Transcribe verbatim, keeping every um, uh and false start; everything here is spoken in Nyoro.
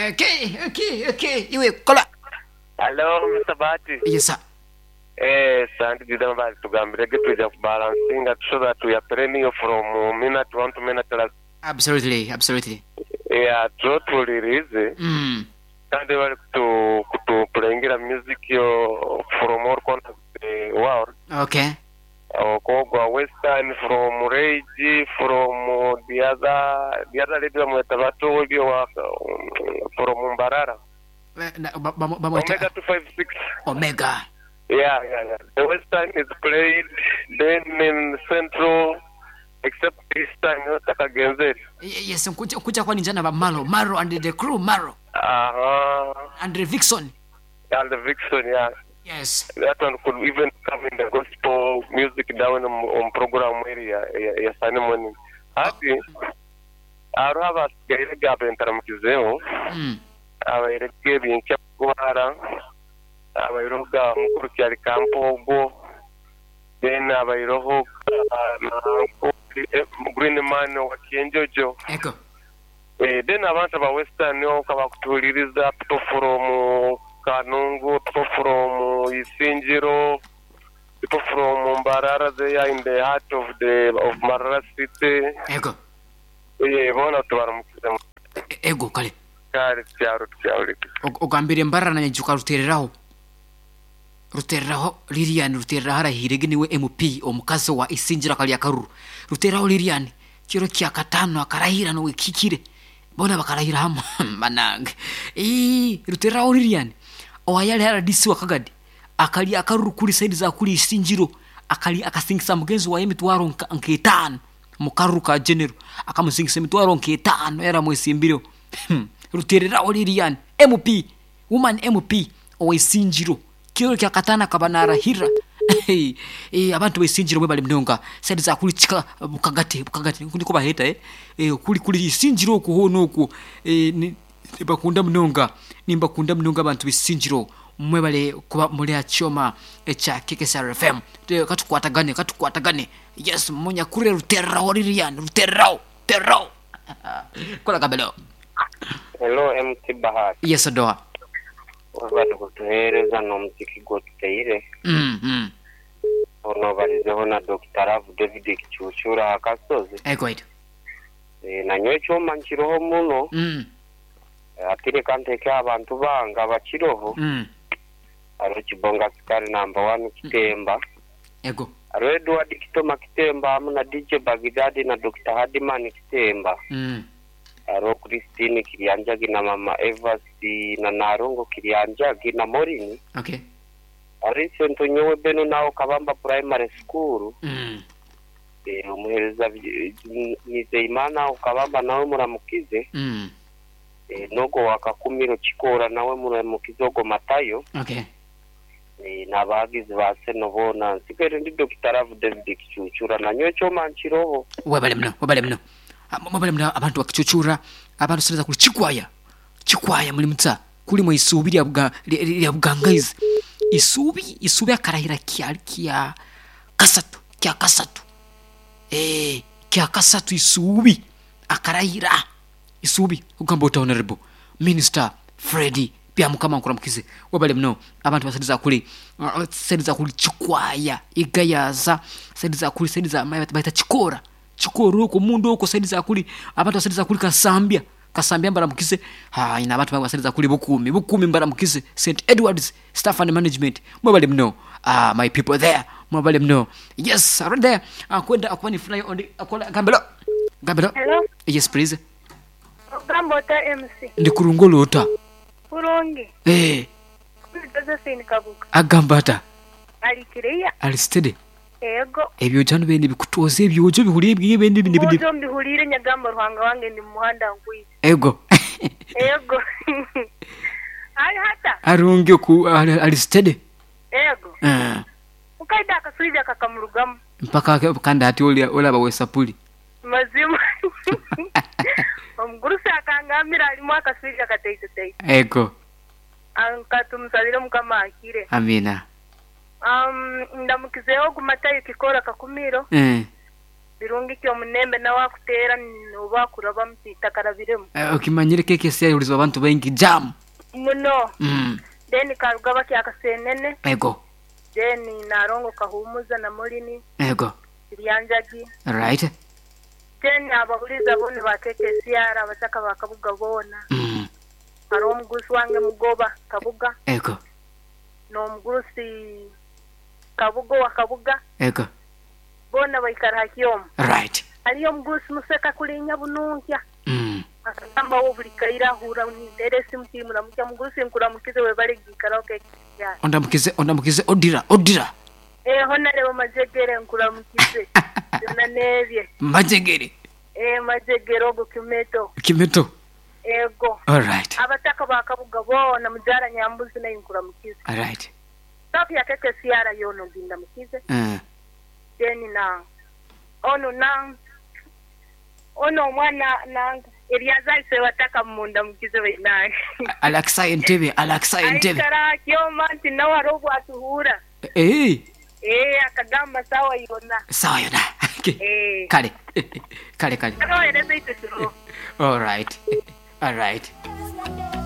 Okay, okay, okay. Iwe kola. Hello, Mister Bahati. Yes sir. Eh, santi jida mbali tugambirege tuja kubalansinga so that we are perennial from minute one to minute last. Absolutely, absolutely. Yeah, tuotulirize. Mm. Kandi bali kutu kutuplayingira music yo from all corners of the world. Okay. Okogwa Western from Rage from the other the other lady bamweta batowebyo wa from Mbarara. Omega two five six. Omega. Yeah, yeah, yeah. The Western is played, then in Central, except this time, Takagenzeri. Yes, nkuja kuja kwa ninjana ba Maro, Maro and the crew, Maro. Uh-huh. And the Vixen. And the Vixen, yeah. Yes. That one could even come in the gospel music down on, on program area, ya Sunday morning. Ati, araba gairega bentaramukizeo. Mm. Abairege bincha kuhara. Abairoga mukuru kyali kampogo. Then abairoho Green Man wa Kienjojo. Eko. Eh, then abantu ba Western yo kabakutuliriza people from Kanungu, people from Isinjiro, people from Mbarara, they are in the heart of the of Mbarara city. Ego. Eh, bona tubaramukiza. Ego kale. Kale cyaro cyaro. Ogambire Mbarara na nyajuka rutereraho. Rutereraho Lilian rutereraho arahirege niwe M P omukazi wa Isinjira kali akaruru. Rutereraho Lilian kiro kya katano akarahira no wikikire. Bona bakarahira hamwe manange. Eh, rutereraho Lilian owayali R D C wa Kagadi akali akaruru kuli side za kuli Isinjiro akali akasingisa mugenzi wa emitwaro nketano mukaruru ka general akamusingisa emitwaro nketano era mwesimbiro. Rutereraho Lilian M P woman M P owa Isinjiro kiro kya katana kabanarahira. Eh, abantu besinjiro bwe bali mnonga side za kuli chika bukagate bukagate ndiko baheta eh eh kuli kuli Isinjiro okuhono oku eh bakunda mnonga nimba kunda mnonga abantu besinjiro mwe bale kuba muli achoma echa K K S R F M katukwatagane katukwatagane. Yes, munya kure ruterraho Lilian ruterraho terraho kola kabelo. Hello M C Bahati. Yes doa wabatu kutuhereza no muziki gotuteire. Mm mm. Ono balizeho na Doctor Rav David Kichuchura akasozi. Ego ito. E, na nyowe choma nkiroho muno. Mm. E, atire kanteke abantu banga bakiroho. Mm. Aro Kibonga Sukari number one Kitemba. Ego. Aro Edward Kitoma Kitemba amu na D J Bagidadi na Doctor Hadiman Kitemba. Mm. Aro Christine Kirianjagi na Mama Evasi na Narongo Kirianjagi na Morini. Okay. Ari sento nyowe beno nao Kabamba Primary School. Mm. E, umuhereza Nizeyimana Kabamba nawe muramukize. Mm. E, nogo wakakumiro Chikora nawe muramukize ogo Matayo. Okay. E, nabagizi ba seno bona nsigere ndi Doctor Rav David Kichuchura na nyowe choma nkiroho. Webale mno, webale mno. Mwabale mna abantu wakichuchura abantu sireza kuli chikwaya chikwaya muli mtsa kuli mwe isubi lya buga lya bugangaizi isubi isubi akarahira kya kya kasatu kya kasatu eh kya kasatu isubi akarahira isubi ugamba honorable minister Freddy Byamukama nkuramukize wabale mno abantu basiriza kuli siriza kuli chikwaya igayaza siriza kuli siriza baita chikora chikoro ko mundu oko saidiza kuli abantu basaidiza kuli Kasambia Kasambia mbaramukize ha ina abantu basaidiza kuli Bukumi Bukumi mbaramukize Saint Edwards staff and management mwabale mno ah my people there mwabale mno. Yes, right there akwenda akwani fly on the akola gambelo gambelo. Hello. Yes please. Gambota M C ndikurungolota kurungi eh Josephine Kabuga agambata alikireya alistede ego ebyo jano bende bikutoze ebyojo bihuriye bwiye bende bindi bindi byo mbihurire nyagamba ruhanga wange ndi muhanda ngwiye ego ego ari hata arunge ku alistede ego eh ukaida akasuiza kakamurugamo mpaka kanda ati oli olaba wesapuli mazima omugurusa akangamira alimu akasuiza kateite teite ego ankatumsalire mukama akire amina. Um, ndamukizeho gumatayo kikora kakumiro eh Birungi kyomunembe nawe akuteera oba akuraba mutakarabiremu. Eh, okimanyire keke sya abantu baingi jam. Muno. Mm. Then karugaba kyakasenene. Ego. Then narongo kahumuza na mulini. Ego. Lyanjagi. Right. Then ababuliza bone bakeke siara abataka bakabuga bona. Mm. Hariho omugurusi wange mugoba kabuga. Ego. N'omugurusi kabuga wa kabuga. Ego. Bona baikara hakyomu. Right. Hariyo omugurusi museka kulinya bununkya. Mm. Akagamba wo buli kaira ahura ninteera esimu timuramukya mugurusi nkuramukize webale giikaraho keke siara. Ondamukize ondamukize odira odira. Eh honarebo majegere nkuramukize. Byona nebye. Majegere. Eh majegere ogo kimeto. Kimeto. Ego. All right. Abataka bakabuga bona mujara nyambuzi naye nkuramukize. All right. Safi ya keke siara yono gindamukize. Uh. Then na ono na ono omwana nanga eryazaise bataka munda mukize bainange. Alaksa entebe alaksa entebe. Aikara kyoma nti nawe hariho obwatuhura. Eh. Eh akagamba sawa yona. Sawa yona. Eh. Kale. Kale kale. Akawereza itwe kiro. All right. All right.